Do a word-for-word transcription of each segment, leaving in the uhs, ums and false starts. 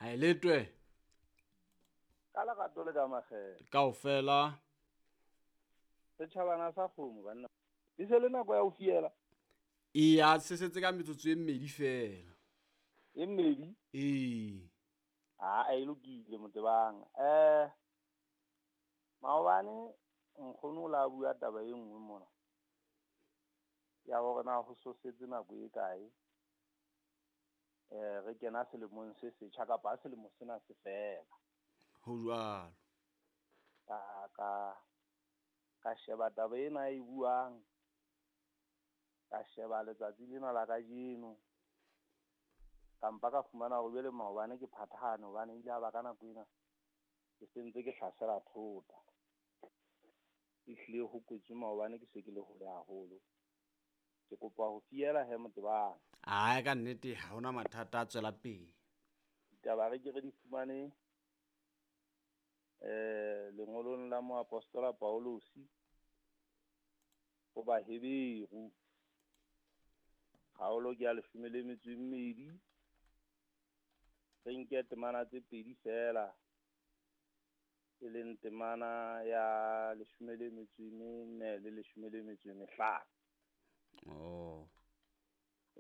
Ha e letwe. Ka lerato le ka makgethe. Kaofela. Setjhabana sa kgomo banna. E se le nako ya ho fiela. Eya, se setse ka metsotso e mmedi feela. E mmedi? Ee. Ah, e lokile Motebang. Eh maobane nkgono o la bua taba e nngwe mona. Ya hore na ho so setse nako e kae. Eh re kena selemong se setjha kapa selemo sena se fela. Ho jwalo. Ka ka ka sheba taba ena e buang. Ka sheba letsatsi lena la kajeno. Ka mpa ka fumana hore jwale maobane ke phathahane hobane ile a ba ka nako ena ke sentse ke hlasela thota. Ehlile ho kwetswe maobane ke se ke le hole haholo. Ke kopa ho fiela he Motebang. Ai ka nnete ha hona mathata a tswela pele. Ditaba re ke re di fumane eh lengolong la moapostola Paulosi ho Baheberu. Kgaolo ke ya leshome le metso e mmedi. Re nke temana tse pedi feela, e leng temana ya leshome le metso e mene le leshome le metso e mehlano. Oh.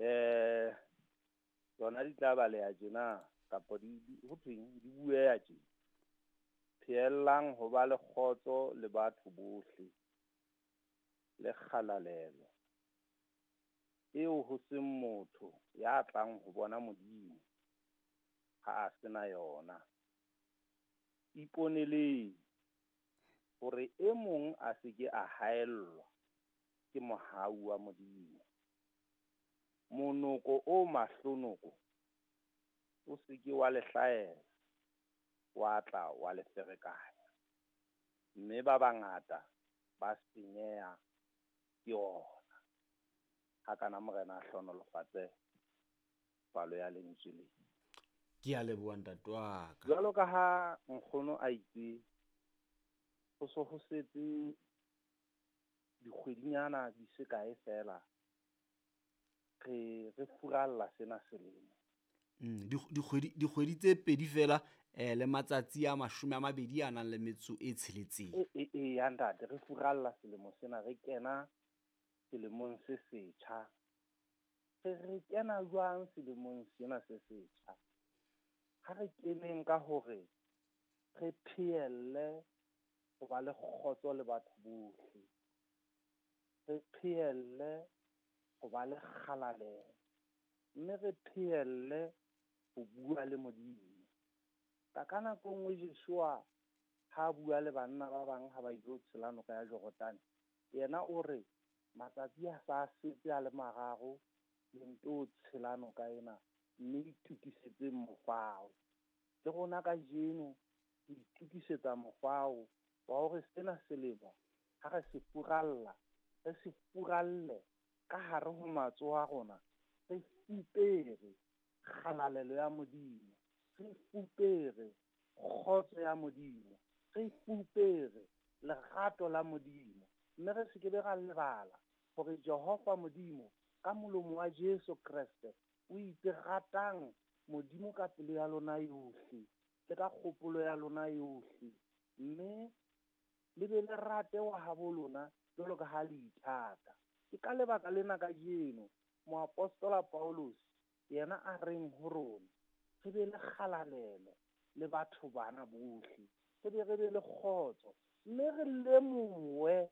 Eh tsona di tla baleha tjena kapa di, di ho thweng di bueha tjena. Pheellang ho ba le kgotso le batho bohle le kgalalelo eo ho seng motho ya tlang ho bona Modimo ha a sena yona. Iponeleng hore e mong a se ke a haellwa ke mohau wa Modimo. Monoko o mahlonoko o se ke wa le hlahela, wa tla wa le ferekanya, mme ba bangata ba senyeha ke ona. Ha kana Morena a hlohonolofatse palo ya lentswe le. Ke a leboha ntate wa ka. Jwalo ka ha nkgono a itse, ho so ho setse dikgwedinyana di se kae feela re re furalla sena selemo. Mm, dikgwedi dikgwedi tse pedi feela eh le matsatsi a mashome a mabedi a nang le metso e tsheletseng. E e e ya ntate, re furalla selemo sena, re kena selemong se setjha. Re re kena jwang selemong sena se setjha? Ha re keneng ka hore re phehelle ho ba le kgotso le batho bohle. Re phehelle ho ba le kgalalelo, mme re phehelle ho bua le Modimo. Ka ka nako nngwe Joshua ha bua le banna ba bang ha ba ilo tshela noka ya Jordane, yena o re matsatsi a sa setse a le mararo le nto tshela noka ena, mme itokisetseng mofao. Le rona kajeno re itokisetsa mofao wa hore sena selemo ha re se furalla, re se furalle ka hare ho matsoho a rona, re fupere kgalalelo ya Modimo, re fupere kgotso ya Modimo, re fupere lerato la Modimo, mme re se ke be ra lebala hore Jehova Modimo ka molomo wa Jesu Kreste o itse ratang Modimo ka pelo ya lona yohle le ka kgopolo ya lona yohle, mme le be le rate wa habo lona jwalo ka ha le ithata. Ke ka lebaka lena kajeno moapostola Paulus yena a reng ho rona re be le kgalalelo le batho bana bohle, re be re be le kgotso, mme re lemohe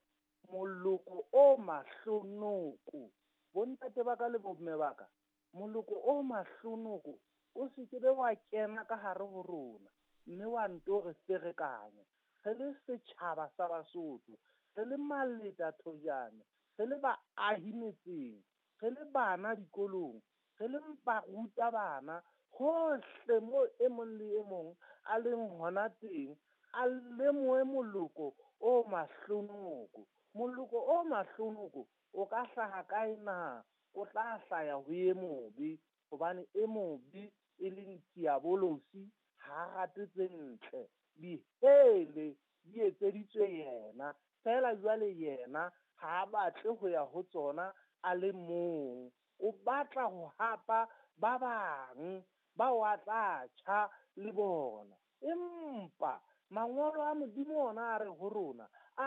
moloko o mahlonoko. Bontate ba ka le bomme ba ka, moloko o mahlonoko o se ke be wa kena ka hare ho rona mme wa nto re ferekanya. Re le setjhaba sa Basotho, re le maleta thojane, re le baahi metseng, re le bana dikolong, re le baruta bana, hohle mo e mong le e mong a leng hona teng, a lemohe moloko o mahlonoko. Moloko o mahlonoko o ka hlaha kae na? O tla hlaya ho e mobe, hobane e mobe e leng diabolosi ha a rate tse ntle. Dihele di etseditswe yena, feela jwale yena ha a batle ho ya ho tsona a le mong. O batla ho hapa ba bang Bao a tla tjha le bona. Empa mangolo a Modimo ona a re ho rona, a